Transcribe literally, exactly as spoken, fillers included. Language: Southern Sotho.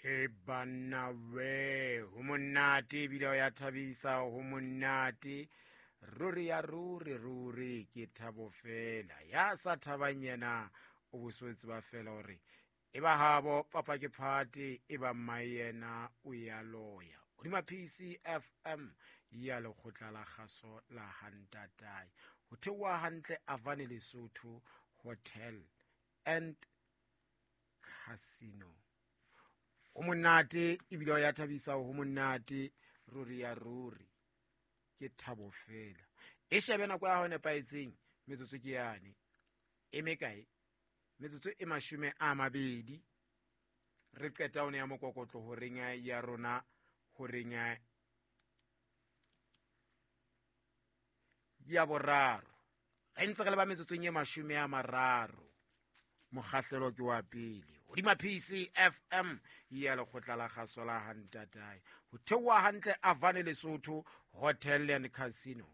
He banna we, ho monate ebile o ya thabisa, ho monate ruri ya ruri ruri, ke thabo fela. Ya sa thabang yena o boswetse ba fela hore e ba habo papa ke phate, e ba mmae yena o ya loya. Hodima P C F M ya lekgotla la kgaso la Hantatai, ho theoha hantle Avane Lesotho Hotel and Casino. Ho monate ebile o ya thabisa, ho monate ruri ya ruri, ke thabo fela. E shebe nako ya hao nepahetseng, metsotso ke yane e mekae? Metsotso e mashome a mabedi re qeta one ya mokokotlo horeng ya rona, horeng ya boraro. Re ntse re le ba metsotsong e mashome a mararo, mokgahlelo ke wa pele hodima P C F M ya lekgotla la kgaso la Hantatai, ho theoha hantle Avane Lesotho Hotel and Casino.